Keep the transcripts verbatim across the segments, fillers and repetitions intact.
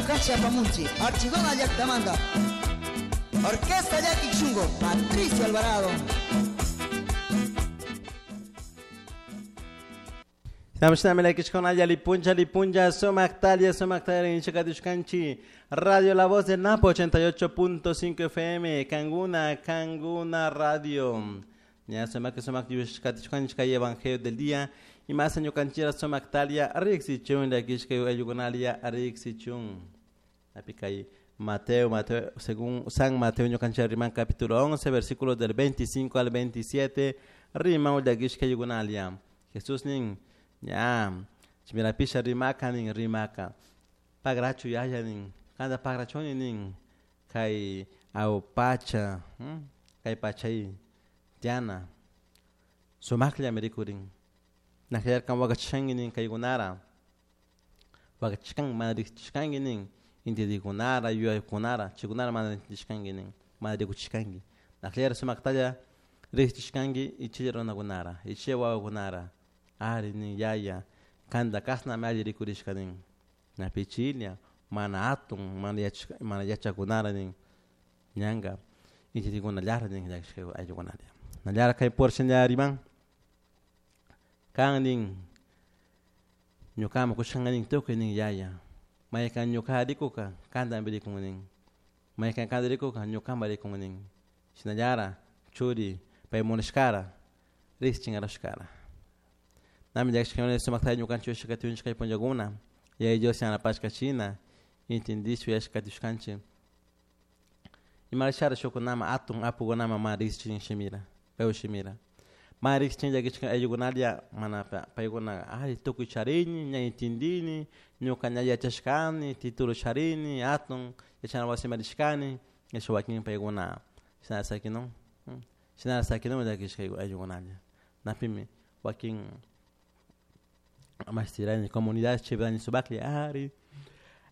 ñukanchik apamunchik Archidona llaktamanta Orquesta Llakik Shungo, Patricio Alvarado. Lipuncha, lipuncha, sumaktalia, sumaktalia, inchakatushkanchi. Radio La Voz del Napo, ochenta y ocho punto cinco F M, Canguna, Canguna Radio. Ya, sumak, sumak, yushkatushkanchi, kay Evangelio del Día. Y más en ñukanchira, sumaktalia, rixichun, la kishka ayugunalia, rixichun. Apikay Mateo, Mateo, según San Mateo, ñukanchira, riman, capítulo once, versículos del veinticinco al veintisiete, riman, la kishka ayugunalia. Jesús nin, ya, chimirapisha rimaka nin rimaka, pagrachu yaya nin, kanda pagrachoni nin, kai au pacha, hmm? Kai pachay, tiana, sumaklia merikurin, nahyar kan wakachangi nin kai gunara, wakachkan madrichkangi nin, inti gunara, yuay gunara, chigunara madrichkangi nin, madrikuchkangi, nahyar sumaktalla richkangi ichirona gunara, ichewa gunara. Ari nin yaya, kanda kasna me alli rikurishka nin. Na pichilia, mana atun, mana yach, mana yachakunara nin. Ñanga, inti guna llara nin yachka ayukunara. Na llara kay por riman. Kan nin, ñukama kushanga nin tukuy nin yaya. Maykan ñuka rikuka, kanda rikun nin. Maykan kanda rikuka, ñukama rikun nin. Shinallara, churi, pay munashkara, rischingarushkara. Nami llakishkuna sumakta ñukanchik yashkatiunchik kay punllakuna yaya Dios yanapashka china intindishpa yashkatiushkanchik imarashara shukunama atun apukunama mana riqsichin shimira paywan shimira mana riqsichin llakishka ayllukunalla mana paykuna ay tukuy charini ña intindini ñuka ña yachashkani titulo charini atun yachana wasima rishkani nisha wakin paykuna shina sakinun shina sakinun llakishka ayllukunalla napimi wakin mastirani comunidades chibrani sumaklla ari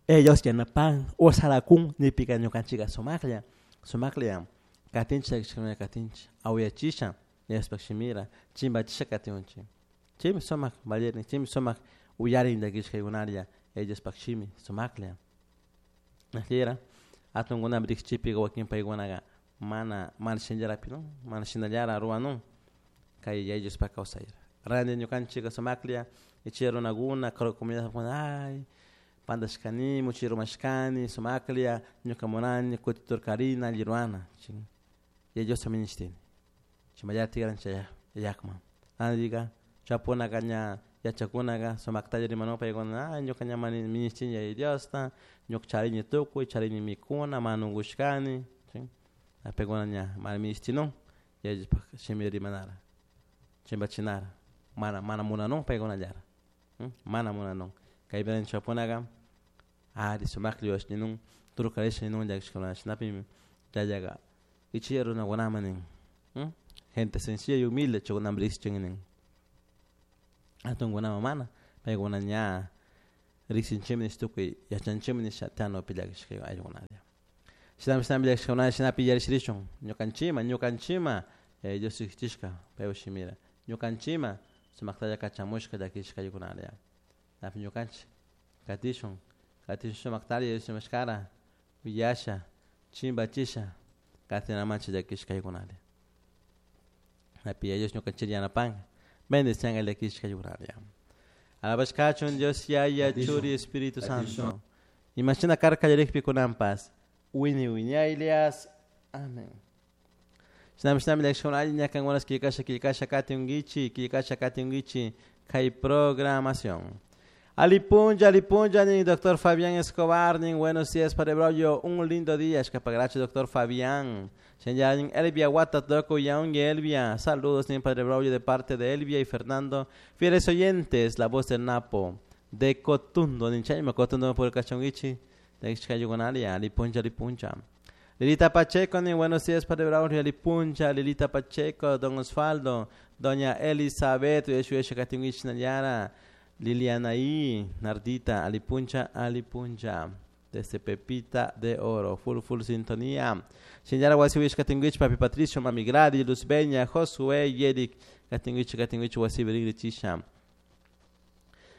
ellos yanapan osarakun nipika ñukanchika sumaklla sumaklla katinchik llakishkuna katinchik awiyachisha yaspak shimira chimbachisha katinchik chaymi sumak valerin chaymi sumak uyarin llakishkaykunalla ellos pak shimi sumaklla najllera atunkunami riqchipika wakin paykunaqa mana mana shinllarapi no mana shinallara ruwanun kay ellos pak kawsayra randi ñukanchika sumaklla ichi runakuna comunidad ay pandashkani muchi rumashkani sumaklla ñuka munani kutiturkarina alli ruwana chin ellos minishtini chimallata tikranchik llakman randika chapunaka ña yachakunaka sumaktalla rimanun paykuna ay ñuka ña minishtini Yaya Diosta ñuka charini tukuy charini mikuna mana unkushkani chin paykuna ña mana minishtinun Yayaspak shimi rimanara chimbachinara mana mana munanun paykunallara mana munanun kaypi chapunaka ari sumaklla yuyashninun turkarisha ninun llakishkuna shinapimi chayllaqa ichilla runakunaman nin gente sencilla y humilde chaykunami riqsichin nin atunkunaman mana paykuna ña riqsinchikmi nish tukuy yachanchikmi nisha tianupi llakishka ayllukunalla shinami shinami llakishkakunalla shinapi yarishirishun ñukanchikman ñukanchikman Yaya Dios riqsichishka paywan shimira ñukanchikman sumaktalla kachamushka llakishka ayllukunalla napi ñukanchik katishun katishun sumaktalla yuyashmashkara willasha chimbachisha katinamanchik llakishka ayllukunalla napi Yaya Dios ñukanchik yanapanka bendicianka llakishka ayllukunalla alabashkachun Dios Yaya Churi Espíritu Santo imashina karka kallarikpi kunanpas wini wiñaylias amén. Shinami shinami llakishkuna alli ñakankunas killkasha killkasha katiunkichik killkasha katiunkichik kay programación. Alipunja, alipunja, ni doctor Fabián Escobar, ni buenos días para Braulio, un lindo día, escapagracho, doctor Fabián. Señal Elvia Guatatoco y aún Elvia, saludos, ni Padre Braulio de parte de Elvia y Fernando, fieles oyentes, la voz del Napo, de Cotundo, ni Chayma, Cotundo por el cachonguichi, de Xcayugonalia, alipunja, alipunja. Lilita Pacheco, ni buenos días, Padre Braulio, alipunja, Lilita Pacheco, don Osvaldo, doña Elizabeth, Yeshu Katinguich Nayara, Liliana I, Nardita, alipuncha, alipuncha, desde Pepita de Oro, full, full sintonía. Señora Wasiwich Katinguich, Papi Patricio, Mami Gradi, Luz Beña, Josué, Yerik, Katinguich, Katinguich, Wasiberigri Chisha.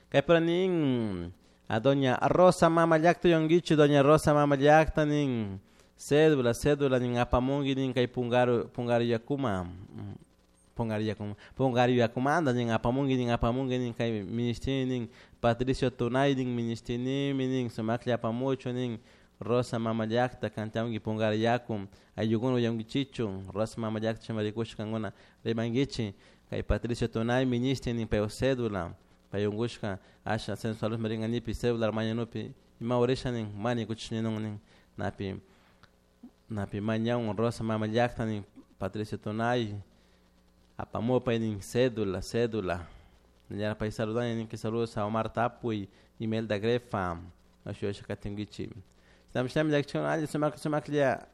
Kaipranin, A doña Rosa mama llakta yonguichi doña Rosa mama llakta nin cédula cédula nin apamunki nin kay Pungaro Pungaro yakuma Pungaro yakuma Pungaro yakumanta nin apamunki nin apamunki nin kay ministini nin Patricio Tunay nin ministinimi nin sumaklla apamuchun nin Rosa mama llakta kantiyanki Pungaro yaku ayllukuna uyankichichu Rosa mama llakta chayman rikushpa kankuna rimankichik kay Patricio Tunay ministin nin paypak cédula pay unkushka asha centro de salud ringanipi cédula mañanupi ima urisha nin mana rikuchish ninun nin napi napi mañan Rosa mama llakta nin Patricio Tunay apamupay nin cédula cédula pay saludani nin que saludos a Omar Tapuy Imelda Grefa shuyasha katinkichik shinami llakichikuna alli sumaklla sumaklla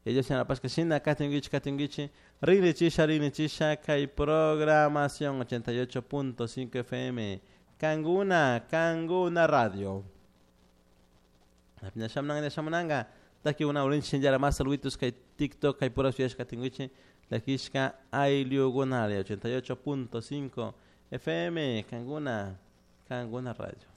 ellos yanapashka shina katinkichik katinkichik rinrichisha rinrichisha kay programación ochenta y ocho punto cinco F M Kankuna Kankuna Radio. Shamunanka shamunanka takikuna urinchik shinallara mas saluditos kay TikTok kay pura shuyashka katinkichik llakishka ayllukunalla ochenta y ocho punto cinco F M Kankuna Kankuna Radio.